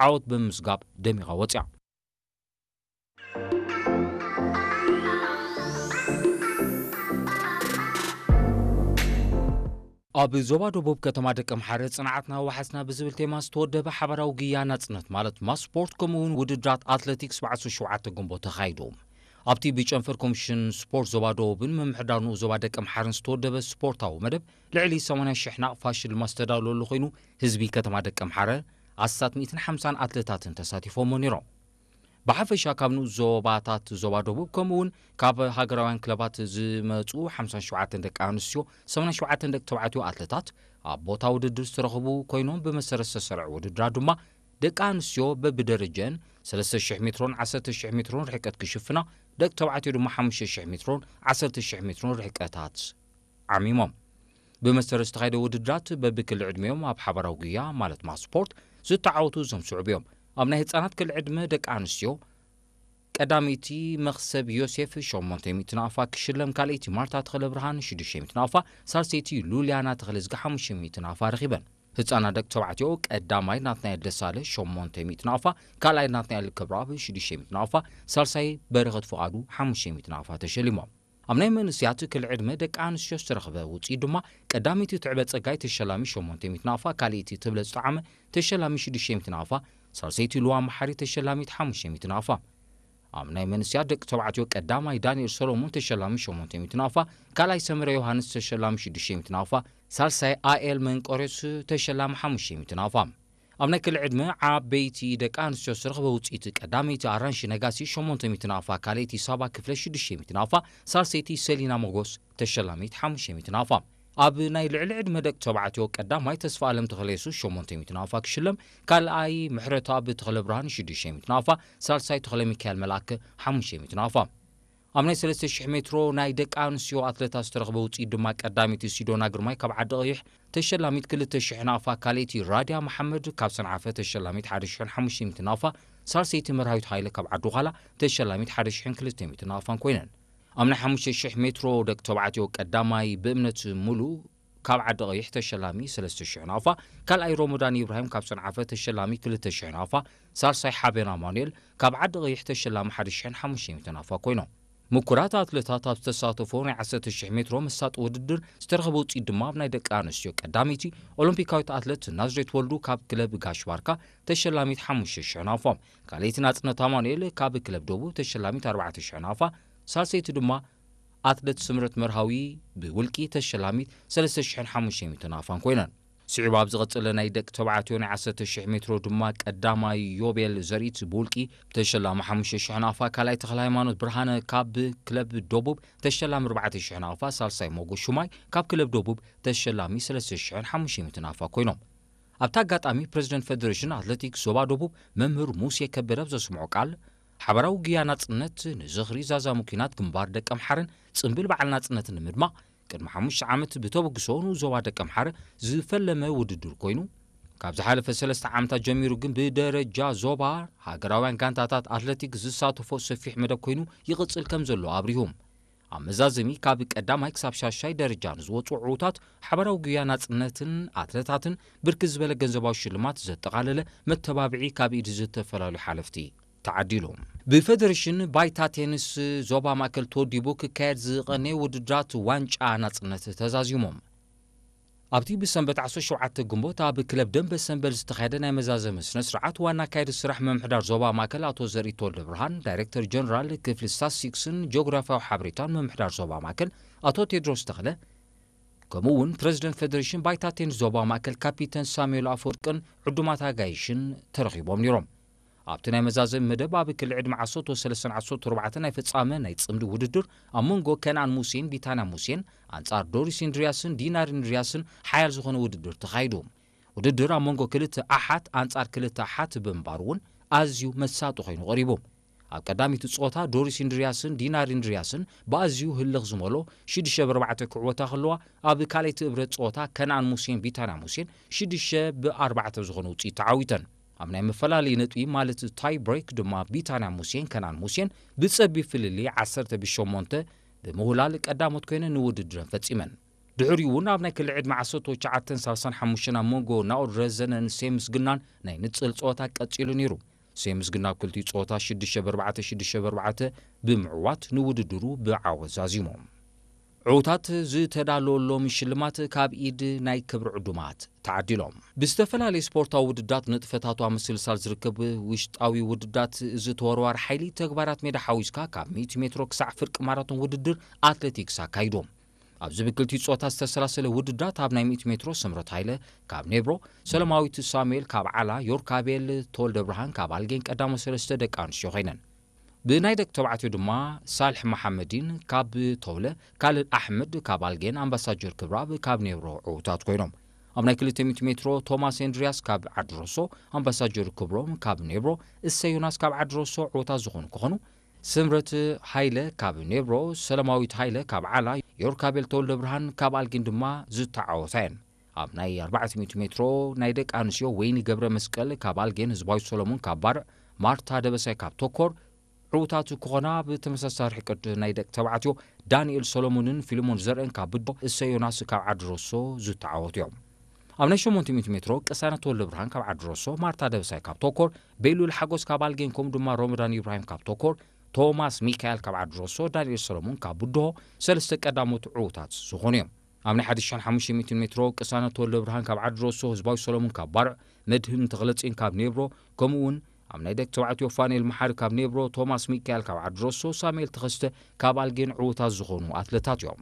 ዓወት ብምምዝጋብ ደሚቓ ወጺኣ። ኣብ ዞባ ደቡብ ከተማ ደቀምሓረ ጽንዓትና ወሓስና ብዝብል ቴማ ዝተወደበ ሓባራዊ ጉያ ናጽነት ማለት ማስ ስፖርት ከምኡ እውን ውድድራት ኣትሌቲክስ ብዓሰርተ ሸውዓተ ግንቦት ተኻይዱ። ኣብቲ ብጨንፈር ኮሚሽን ስፖርት ዞባ ደቡብን ምምሕዳር ንኡስ ዞባ ደቀምሓረን ዝተወደበ ስፖርታዊ መደብ ልዕሊ ሰማንያ ሽሕ ናቕፋ ሽልማት ዝተዳለወሉ ኮይኑ ህዝቢ ከተማ ደቀምሓረ ኣስታት ሚእትን ሓምሳን ኣትሌታትን ተሳቲፎሞ ነይሮም። ብሓፈሻ ካብ ንኡስ ዞባታት ዞባ ደቡብ ከምኡ እውን ካብ ሃገራውያን ክለባት ዝመፁ ሓምሳን ሸውዓተን ደቂ ኣንስትዮ፣ ሰማንያን ሸውዓተን ደቂ ተባዕትዮ ኣትለታት ኣብ ቦታ ውድድር ዝተረኽቡ ኮይኖም ብመሰረት ዝተሰርዐ ውድድራት ድማ ደቂ ኣንስትዮ በብደረጀን ሰለስተ ሽሕ ሜትሮን ዓሰርተ ሽሕ ሜትሮን ርሕቀት ክሽፍና፣ ደቂ ተባዕትዮ ድማ ሓሙሽተ ሽሕ ሜትሮን ዓሰርተ ሽሕ ሜትሮን ርሕቀታት ዓሚሞም። ብመሰረት ዝተኻየደ ውድድራት በብክሊ ዕድሜኦም ኣብ ሓባራዊ ጉያ ማለት ማስ ስፖርት ዝተዓወቱ እዞም ስዑብ እዮም። ኣብ ናይ ህፃናት ክሊ ዕድመ ደቂ ኣንስትዮ ቀዳመይቲ መኽሰብ ዮሴፍ ሸሞንተ ሚእቲ ናቕፋ ክሽለም፣ ካልኣይቲ ማርታ ተኽለ ብርሃን ሽዱሽተ ሚእቲ ናቕፋ፣ ሳልሰይቲ ሉልያና ተኽለዝጊ ሓሙሽተ ሚእቲ ናቕፋ ረኺበን። ህፃናት ደቂ ተባዕትዮ ቀዳማይ ናትናኤል ደሳለ ሸሞንተ ሚእቲ ናቕፋ፣ ካልኣይ ናትናኤል ክብረኣብ ሽዱሽተ ሚእቲ ናቕፋ፣ ሳልሳይ በረኸት ፍቓዱ ሓሙሽተ ሚእቲ ናቕፋ ተሸሊሞም። ኣብ ናይ መንእሰያት ክሊ ዕድመ ደቂ ኣንስትዮ ዝተረኽበ ውፅኢት ድማ ቀዳመይቲ ትዕበ ፀጋይ ተሸላሚ ሸሞንተ ሚእቲ ናቕፋ፣ ካልኣይቲ ትብለፅ ጣዕመ ተሸላሚ ሽዱሽተ ሚእቲ ናቕፋ፣ ሳልሰይቲ ልዋ መሓሪ ተሸላሚት ሓሙሽተ ሚእቲ ናቕፋ። ኣብ ናይ መንእሰያት ደቂ ተባዕትዮ ቀዳማይ ዳንኤል ሰሎሞን ተሸላሚ ሸሞንተ ሚእቲ ናቕፋ፣ ካልኣይ ሰመረ ዮሃንስ ተሸላሚ ሽዱሽተ ሚእቲ ናቕፋ፣ ሳልሳይ ኣኤል መንቆሬስ ተሸላሚ ሓሙሽተ ሚእቲ ናቕፋ። ኣብ ናይ ክሊ ዕድመ ዓበይቲ ደቂ ኣንስትዮ ዝተረኽበ ውፅኢት ቀዳመይቲ ኣራንሺ ነጋሲ ሸሞንተ ሚእቲ ናቕፋ፣ ካልኣይቲ ሳባ ክፍለ ሽዱሽተ ሚእቲ ናቕፋ፣ ሳልሰይቲ ሰሊና ሞጎስ ተሸላሚት ሓሙሽተ ሚእቲ ናቕፋ። ኣብ ናይ ልዕሊ ዕድመ ደቂ ተባዕትዮ ቀዳማይ ተስፋ ኣለም ተኽለ የሱስ ሸሞንተ ሚእቲ ናቕፋ ክሽለም፣ ካልኣይ ምሕረተኣብ ተኽለ ብርሃን ሽዱሽተ ሚእቲ ናቕፋ፣ ሳልሳይ ተኽለ ሚካኤል መልኣከ ሓሙሽተ ሚእቲ ናቕፋ። ኣብ ናይ ሰለስተ ሽሕ ሜትሮ ናይ ደቂ ኣንስትዮ ኣትለታት ዝተረኽበ ውፅኢት ድማ ቀዳመይቲ ሲዶና ግርማይ ካብ ዓዲ ቀይሕ ተሸላሚት ክልተ ሽሕ ናቕፋ፣ ካልኣይቲ ራድያ መሓመድ ካብ ሰንዓፈ ተሸላሚት ሓደ ሽሕን ሓሙሽተ ሚእቲ ናቕፋ፣ ሳልሰይቲ መርሃዊት ሃይለ ካብ ዓዲ ዃላ ተሸላሚት ሓደ ሽሕን ክልተ ሚእቲ ናቕፋን ኮይነን። ኣብ ናይ ሓሙሽተ ሽሕ ሜትሮ ደቂ ተባዕትዮ ቀዳማይ ብእምነት ሙሉ ካብ ዓዲ ቀይሕ ተሸላሚ ሰለስተ ሽሕ ናቕፋ፣ ካልኣይ ሮሞዳን ኢብራሂም ካብ ሰንዓፈ ተሸላሚ ክልተ ሽሕ ናቕፋ፣ ሳልሳይ ሓቤን ኣማኑኤል ካብ ዓዲ ቀይሕ ተሸላሚ ሓደ ሽሕን ሓሙሽተ ሚእቲ ናቕፋ ኮይኖም። ምኩራት ኣትለታት ኣብ ዝተሳተፎ ናይ ዓሰርተ ሽሕ ሜትሮ መሳጢ ውድድር ዝተረኸበ ውፅኢት ድማ ኣብ ናይ ደቂ ኣንስትዮ ቀዳመይቲ ኦሎምፒካዊት ኣትለት ናዝሬት ወልዱ ካብ ክለብ ጋሽ ባርካ ተሸላሚት ሓሙሽተ ሽሕ ናቕፋ፣ ካልኣይቲ ናጽነት ኣማኑኤል ካብ ክለብ ደቡብ ተሸላሚት ኣርባዕተ ሽሕ ናቕፋ፣ ሳልሰይቲ ድማ ኣትለት ስምረት መርሃዊ ብውልቂ ተሸላሚት ሰለስተ ሽሕን ሓሙሽተ ሚእቲ ናቕፋን ኮይነን። ስዒቡ ኣብ ዝቐጸለ ናይ ደቂ ተባዕትዮ ናይ ዓሰርተ ሽሕ ሜትሮ ድማ ቀዳማይ ዮቤል ዘርኢት ብውልቂ ተሸላሚ ሓሙሽተ ሽሕ ናቕፋ፣ ካልኣይ ተኽለ ሃይማኖት ብርሃነ ካብ ክለብ ደቡብ ተሸላሚ ኣርባዕተ ሽሕ ናቕፋ፣ ሳልሳይ ሞጎ ሹማይ ካብ ክለብ ደቡብ ተሸላሚ ሰለስተ ሽሕን ሓሙሽተ ሚእቲ ናቕፋ ኮይኖም። ኣብቲ ኣጋጣሚ ፕረዚደንት ፌደሬሽን ኣትሌቲክስ ዞባ ደቡብ መምህር ሙሴ ከበደ ኣብ ዘስምዖ ቃል፣ ሓባራዊ ጉያ ናጽነት ንዝኽሪ ዛዛሙ ኲናት ግንባር ደቀምሓረን ጽምብል በዓል ናጽነትን ንምድማቕ ቅድሚ ሓሙሽተ ዓመት ብተበግሶ ንኡስ ዞባ ደቀምሓረ ዝፈለመ ውድድር ኮይኑ፣ ካብ ዝሓለፈ ሰለስተ ዓመታት ጀሚሩ ግን ብደረጃ ዞባ ሃገራውያን ጋንታታት ኣትሌቲክስ ዝሳተፎ ሰፊሕ መደብ ኮይኑ ይቕጽል ከም ዘሎ ኣብሪሁ። ኣብ መዛዘሚ ካብ ቀዳማይ ክሳብ ሻሻይ ደረጃ ንዝወጹ ዕዉታት ሓባራዊ ጉያ ናጽነትን ኣትለታትን ብርክት ዝበለ ገንዘባዊ ሽልማት ዘጠቓለለ መተባብዒ ካብ ኢድ ዝተፈላለዩ ሓለፍቲ ተዓዲሉ። ብፌደሬሽን ባይታ ቴኒስ ዞባ ማእከል ተወዲቡ ክካየድ ዝቐነየ ውድድራት ዋንጫ ናጽነት ተዛዚሞም። ኣብቲ ብሰንበት ዓሰርተ ሸውዓተ ግንቦት ኣብ ክለብ ደንበ ሰንበል ዝተኻየደ ናይ መዛዘሚ ስነ ስርዓት ዋና ኣካየዲ ስራሕ ምምሕዳር ዞባ ማእከል ኣቶ ዘርኢ ተወልደ ብርሃን፣ ዳይሬክተር ጀነራል ክፍሊ ስታትስቲክስን ጂኦግራፊያዊ ሓበሬታን ምምሕዳር ዞባ ማእከል ኣቶ ቴድሮስ ተኽለ፣ ከምኡ እውን ፕረዚደንት ፌደሬሽን ባይታ ቴኒስ ዞባ ማእከል ካፒተን ሳሙኤል ኣፈወርቅን ዕዱማት ኣጋይሽን ተረኺቦም ነይሮም። ኣብቲ ናይ መዛዘሚ መደብ ኣብ ክሊ ዕድመ ዓሰርተ ሰለስተን ዓሰርተ ኣርባዕተን ናይ ፍጻመ ናይ ጽምዲ ውድድር ኣብ መንጎ ከነኣን ሙሴን ቢታንያ ሙሴን ኣንጻር ዶሪስ ኢንድርያስን ዲናር ኢንድርያስን ሓያል ዝኾነ ውድድር ተኻይዱ። ውድድር ኣብ መንጎ ክልተ ኣሓት ኣንጻር ክልተ ኣሓት ብምንባሩ እውን ኣዝዩ መሳጢ ኮይኑ ቀሪቡ። ኣብ ቀዳሚት ጸወታ ዶሪስ ኢንድርያስን ዲናር ኢንድርያስን ብኣዝዩ ህልኽ ዝመሎ ሽዱሽተ ብ ኣርባዕተ ክዕወታ ከለዋ፣ ኣብ ካልኣይቲ እብረት ጸወታ ከነኣን ሙሴን ቢታንያ ሙሴን ሽዱሽተ ብ ኣርባዕተ ዝኾነ ውጽኢት ተዓዊተን። ኣብ ናይ መፈላለዪ ነጥቢ ማለት ታይ ብሬክ ድማ ቢታንያ ሙሴን ከነኣን ሙሴን ብጸቢብ ፍልልይ ዓሰርተ ብ ሸሞንተ ብምውላል ቀዳሞት ኮይነን ንውድድረን ፈጺመን። ድሕሪኡ እውን ኣብ ናይ ክሊ ዕድመ ዓሰርተ ትሽዓተን ሰላሳን ሓሙሽተን ኣብ መንጎ ናኦድ ረዘነን ሴምስ ግናን ናይ ንጽል ጸወታ ቀጺሉ ነይሩ። ሴምስ ግና ኣብ ክልቲኡ ጸወታ ሽዱሽተ ብ ኣርባዕተ፣ ሽዱሽተ ብ ኣርባዕተ ብምዕዋት ንውድድሩ ብዓወት ዛዚሙ። ዕዉታት ዝተዳለወሎም ሽልማት ካብ ኢድ ናይ ክብሪ ዕዱማት ተዓዲሎም። ብዝተፈላለዩ ስፖርታዊ ውድዳት ንጥፈታቱ ኣብ ምስልሳል ዝርከብ ውሽጣዊ ውድዳት፣ እዚ ተወርዋሪ ሓይሊ ተግባራት ሜዳ ሓዊስካ ካብ ሚእቲ ሜትሮ ክሳዕ ፍርቂ ማራቶን ውድድር ኣትሌቲክስ ኣካይዱ። ኣብዚ ብክልቲኡ ጾታ ዝተሰላሰለ ውድዳት ኣብ ናይ ሚእቲ ሜትሮ ስምረት ሃይለ ካብ ኔብሮ፣ ሰለማዊት ሳሙኤል ካብ ዓላ፣ ዮርካቤል ተወልደ ብርሃን ካብ ኣልጌን ቀዳሞ ሰለስተ ደቂ ኣንስትዮ ኮይነን። ብናይ ደቂ ተባዕትዮ ድማ ሳልሕ መሓመዲን ካብ ተውለ፣ ካልድ ኣሕመድ ካብ ኣልጌን ኣምባሳጀር ክብራብ ካብ ኔብሮ ዕዉታት ኮይኖም። ኣብ ናይ ክልተ ሚእቲ ሜትሮ ቶማስ ኤንድሪያስ ካብ ዓዲ ሮሶ፣ ኣምባሳጀር ክብሮም ካብ ኔብሮ፣ እሰይ ዮናስ ካብ ዓዲ ሮሶ ዕዉታት ዝኾኑ ክኾኑ፣ ስምረት ሃይለ ካብ ኔብሮ፣ ሰለማዊት ሃይለ ካብ ዓላ፣ ዮርካቤል ተወልደ ብርሃን ካብ ኣልጌን ድማ ዝተዓወታ እየን። ኣብ ናይ ኣርባዕተ ሚእቲ ሜትሮ ናይ ደቂ ኣንስትዮ ወይኒ ገብረ መስቀል ካብ ኣልጌን፣ ህዝባዊት ሰሎሞን ካብ ባርዕ፣ ማርታ ደበሳይ ካብ ተኮር ዕዉታት ክኾና፣ ብተመሳሳሊ ርሕቀት ናይ ደቂ ተባዕትዮ ዳንኤል ሰሎሞንን ፊልሞን ዘርእን ካብ ብዶ፣ እሰይ ዮናስ ካብ ዓዲ ሮሶ ዝተዓወቱ እዮም። ኣብ ናይ ሸሞንተ ሚእቲ ሜትሮ ቅሳነት ተወልደ ብርሃን ካብ ዓዲ ሮሶ፣ ማርታ ደበሳይ ካብ ተኮር፣ ቤሉል ሓጎስ ካብ ኣልጌን ከምኡ ድማ ሮመዳን ኢብራሂም ካብ ተኮር፣ ቶማስ ሚካኤል ካብ ዓዲ ሮሶ፣ ዳንኤል ሰሎሞን ካብ ብድሆ ሰለስተ ቀዳሞት ዕዉታት ዝኾኑ እዮም። ኣብ ናይ ሓደ ሽሕን ሓሙሽተ ሚእትን ሜትሮ ቅሳነት ተወልደ ብርሃን ካብ ዓዲ ሮሶ፣ ህዝባዊ ሰሎሞን ካብ ባርዕ፣ መድህን ተኽለጽዮን ካብ ኔብሮ፣ ከምኡ እውን ኣብ ናይ ደቂ ተባዕትዮ ፋኑኤል መሓሪ ካብ ኔብሮ፣ ቶማስ ሚካኤል ካብ ዓዲ ሮሶ፣ ሳሙኤል ተኸስተ ካብ ኣልጌን ዕዉታት ዝኾኑ ኣትለታት እዮም።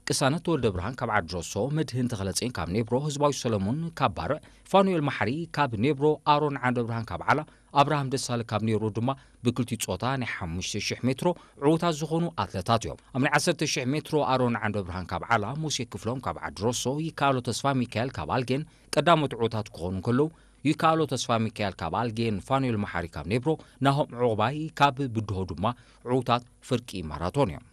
ቅሳነት ተወልደ ብርሃን ካብ ዓዲ ሮሶ፣ መድህን ተኽለጽዮን ካብ ኔብሮ፣ ህዝባዊ ሰሎሞን ካብ ባርዕ፣ ፋኑኤል መሓሪ ካብ ኔብሮ፣ ኣሮን ዓንደ ብርሃን ካብ ዓላ፣ ኣብርሃም ደሳለ ካብ ኔብሮ ድማ ብክልቲኡ ጾታ ናይ ሓሙሽተ ሽሕ ሜትሮ ዕዉታት ዝኾኑ ኣትለታት እዮም። ኣብ ናይ ዓሰርተ ሽሕ ሜትሮ ኣሮን ዓንደ ብርሃን ካብ ዓላ፣ ሙሴ ክፍሎም ካብ ዓዲ ሮሶ፣ ይከኣሎ ተስፋ ሚካኤል ካብ ኣልጌን ቀዳሞት ዕዉታት ክኾኑ እንከለዉ፣ ይከኣሎ ተስፋ ሚካኤል ካብ ኣልጌን፣ ፋኑኤል መሓሪ ካብ ኔብሮ፣ ናሆም ዑቕባይ ካብ ብድሆ ድማ ዕዉታት ፍርቂ ማራቶን እዮም።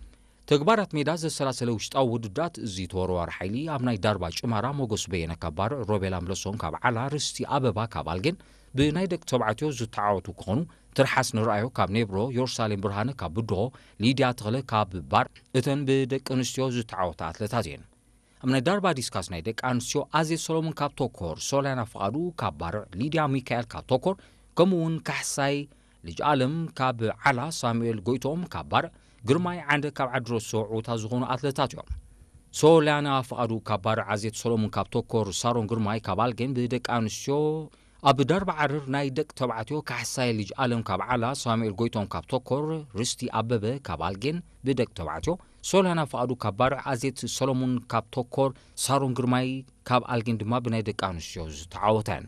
ተግባራት ሜዳ ዘሰላሰለ ውሽጣዊ ውድዳት እዚ ተወርዋሪ ሓይሊ ኣብ ናይ ዳርባ ጭማራ ሞገስ በየነ ካብ ባርዕ፣ ሮቤል ኣምለሶም ካብ ዓላ፣ ርስቲ ኣበባ ካብ ኣልጌን ብናይ ደቂ ተባዕትዮ ዝተዓወቱ ክኾኑ፣ ትርሓስ ንርኣዮ ካብ ኔብሮ፣ ዮርሳሌም ብርሃነ ካብ ብድሆ፣ ሊድያ ተኽለ ካብ ባርዕ እተን ብደቂ ኣንስትዮ ዝተዓወታ ኣትለታት እየን። ኣብ ናይ ዳርባ ዲስካስ ናይ ደቂ ኣንስትዮ ኣዜት ሰሎሞን ካብ ቶኮር፣ ሶልያና ፍቓዱ ካብ ባርዕ፣ ሊድያ ሚካኤል ካብ ቶኮር፣ ከምኡ እውን ካሕሳይ ልጅ ኣለም ካብ ዓላ፣ ሳሙኤል ጎይቶም ካብ ባርዕ፣ ግርማይ ዓንደ ካብ ዓዲ ሮሶ ዕዉታት ዝኾኑ ኣትለታት እዮም። ሶልያና ፍቓዱ ካብ ባርዕ፣ ኣዜት ሰሎሞን ካብ ቶኮር፣ ሳሮን ግርማይ ካብ ኣልጌን ብደቂ ኣንስትዮ፣ ኣብ ዳርባ ዓርር ናይ ደቂ ተባዕትዮ ካሕሳይ ልጅ ኣለም ካብ ዓላ፣ ሳሙኤል ጎይቶም ካብ ቶኮር፣ ርስቲ ኣበበ ካብ ኣልጌን ብደቂ ተባዕትዮ፣ ሶልያና ፍቓዱ ካብ ባርዕ፣ ኣዜት ሰሎሞን ካብ ቶኮር፣ ሳሮን ግርማይ ካብ ኣልጌን ድማ ብናይ ደቂ ኣንስትዮ ዝተዓወታ እየን።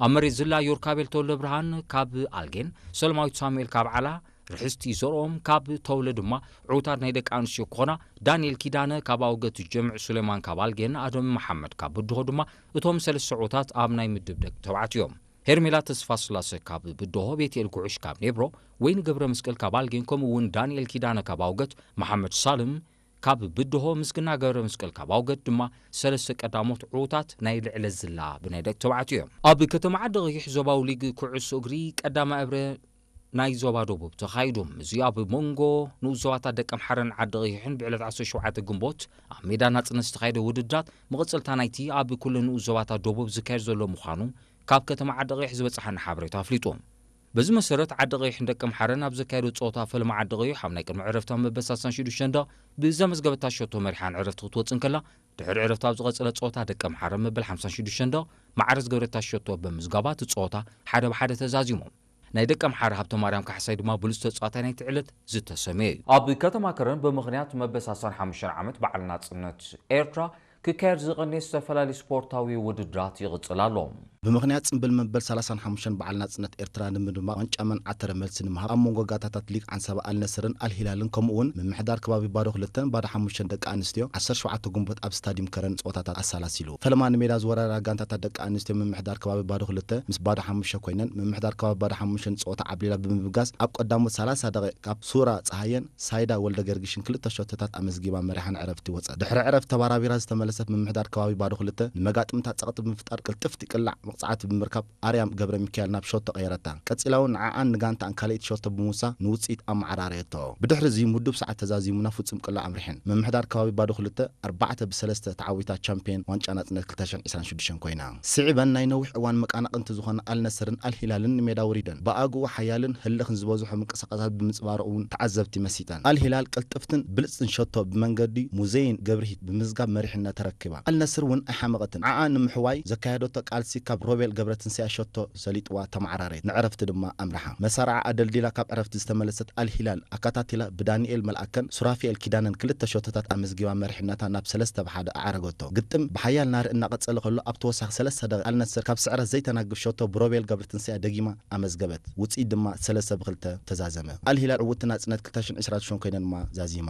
ኣብ መሬት ዝላ ዮርካቤል ተወልደ ብርሃን ካብ ኣልጌን፣ ሰለማዊት ሳሙኤል ካብ ዓላ፣ ርሕስቲ ዘርኦም ካብ ተውለ ድማ ዕዉታት ናይ ደቂ ኣንስትዮ ክኾና፣ ዳንኤል ኪዳነ ካብ ኣውገት፣ ጀምዕ ሱሌማን ካብ ኣልጌን፣ ኣደም መሓመድ ካብ ብድሆ ድማ እቶም ሰለስተ ዕዉታት ኣብ ናይ ምድብ ደቂ ተባዕትዮ እዮም። ሄርሜላ ተስፋስላሰ ካብ ብድሆ፣ ቤትኤል ጉዕሽ ካብ ኔብሮ፣ ወይኒ ገብረ መስቀል ካብ ኣልጌን፣ ከምኡ እውን ዳንኤል ኪዳነ ካብ ኣውገት፣ መሓመድ ሳልም ካብ ብድሆ፣ ምስግና ገብረ መስቀል ካብ ኣውገት ድማ ሰለስተ ቀዳሞት ዕዉታት ናይ ልዕለ ዝላ ብናይ ደቂ ተባዕትዮ እዮም። ኣብ ከተማ ዓዲ ቀይሕ ዞባዊ ሊግ ኩዕሶ እግሪ ቀዳማይ እብረ ናይ ዞባ ደቡብ ተኻይዱ። እዚ ኣብ መንጎ ንኡስ ዞባታት ደቀምሓረን ዓዲ ቀይሕን ብዕለት ዓሰርተ ሸውዓተ ግንቦት ኣብ ሜዳ ናጽነት ዝተኻየደ ውድድራት መቐጸልታ ናይቲ ኣብ ኩለን ንኡስ ዞባታት ደቡብ ዝካየድ ዘሎ ምዃኑ ካብ ከተማ ዓዲ ቀይሕ ዝበጽሓና ሓበሬታ ኣፍሊጡ። በዚ መሰረት ዓዲ ቀይሕን ደቀምሓረን ኣብ ዘካየዶ ጸወታ ፈለማ ዓዲ ቀይሕ ኣብ ናይ ቅድሚ ዕረፍታ መበል ሰላሳን ሽዱሽተን ደቕ ብዘመዝገበታ ሸቶ መሪሓ ንዕረፍቲ ክትወጽእ እንከላ፣ ድሕሪ ዕረፍቲ ኣብ ዝቐጸለ ጸወታ ደቀምሓረ መበል ሓምሳን ሽዱሽተን ደቕ ማዕረ ዝገበረታ ሸቶ ብምዝጋባ እቲ ጸወታ ሓደ ብሓደ ተዛዚሙ። ናይ ደቀምሓረ ሃብተማርያም ካሕሳይ ድማ ብሉጽ ተጻዋታይ ናይቲ ዕለት ዝተሰምየ እዩ። ኣብ ከተማ ከረን ብምኽንያት መበል ሰላሳን ሓሙሽተን ዓመት በዓል ናጽነት ኤርትራ ክካየድ ዝቐነየ ዝተፈላለዩ ስፖርታዊ ውድድራት ይቕጽል ኣሎ። ብምኽንያት ጽምብል መበል ሰላሳን ሓሙሽተን በዓል ናጽነት ኤርትራ ንምድማቕ ዋንጫ መን ዓተረ መልሲ ንምሃብ ኣብ መንጎ ጋንታታት ሊግ ዓንሰባ ኣልነስርን ኣልሂላልን ከምኡ እውን ምምሕዳር ከባቢ ባዶ ክልተን ባዶ ሓሙሽተን ደቂ ኣንስትዮ ዓሰርተ ሸውዓተ ግንቦት ኣብ ስታዲየም ከረን ጸወታታት ኣሰላሲሉ። ፈለማ ንሜዳ ዝወረዳ ጋንታታት ደቂ ኣንስትዮ ምምሕዳር ከባቢ ባዶ ክልተ ምስ ባዶ ሓሙሽተ ኮይነን፣ ምምሕዳር ከባቢ ባዶ ሓሙሽተ ንጸወታ ዓብሊላ ብምብጋስ ኣብ ቀዳሞት ሰላሳ ደቂቕ ካብ ሱራ ጸሃየን ሳይዳ ወልደ ገርጊሽን ክልተ ሸቶታት ኣመዝጊባ መሪሓ ንዕረፍቲ ወጸት። ድሕሪ ዕረፍቲ ተባራቢራ ዝተመለሰት ምምሕዳር ከባቢ ባዶ ክልተ ንመጋጥምታ ጸቕጢ ብምፍጣር ቅልጥፍቲ ቅላዕ መቕጻዕቲ ብምርካብ ኣርያም ገብረ ሚካኤል ናብ ሸቶ ቀየረታ። ቀጺላ እውን ንዓኣን ንጋንታኣን ካልኣይቲ ሸቶ ብምውሳ ንውጽኢት ኣመዓራረየቶ። ብድሕሪ እዚ ምዱብ ሰዓት ተዛዚሙ ናብ ፍጹም ቅላዕ ኣምሪሐን። ምምሕዳር ከባቢ ባዶ ክልተ ኣርባዕተ ብሰለስተ ተዓዊታ ቻምፕዮን ዋንጫ ናጽነት ክልተ ሽሕን ዕስራን ሽዱሽተን ኮይና። ስዒበን ናይ ነዊሕ እዋን መቃናቕንቲ ዝኾነ ኣልነስርን ኣልሂላልን ንሜዳ ውሪደን። ብኣግኡ ሓያልን ህልኽን ዝበዝሖ ምንቅስቃሳት ብምንጽባረቑ እውን ተዓዘብቲ መሲጠን። ኣልሂላል ቅልጥፍትን ብልጽትን ሸቶ ብመንገዲ ሙዘይን ገብርሂት ብምዝጋብ መሪሕነት ተረኪባ። ኣልነስር እውን ኣይሓመቐትን። ዓኣ ንምሕዋይ ዘካየደቶ ቃልሲ ካብ ሮቤል ገብረትንሳኤ ሸቶ ሰሊጥዋ ተመዓራረየት። ንዕረፍቲ ድማ ኣምርሓ። መሳርዓ ኣደልዲላ ካብ ዕረፍቲ ዝተመለሰት ኣልሂላል ኣካታቲላ ብዳንኤል መልኣከን ሱራፊኤል ኪዳነን ክልተ ሸቶታት ኣመዝጊባ መሪሕነታ ናብ ሰለስተ ብሓደ ኣዕረገቶ። ግጥም ብሓያል ናሪ እናቐጸለ ከሎ ኣብ ተወሳኺ ሰለስተ ደቂቕ ኣልነስር ካብ ስዕረት ዘይተናግፍ ሸቶ ብሮቤል ገብረትንሳኤ ደጊማ ኣመዝገበት። ውጽኢት ድማ ሰለስተ ብክልተ ተዛዘመ። ኣልሂላል ዕውትቲ ናጽነት ክልተ ሽሕን ዕስራን ሽዱሽተን ኮይና ድማ ዛዚማ።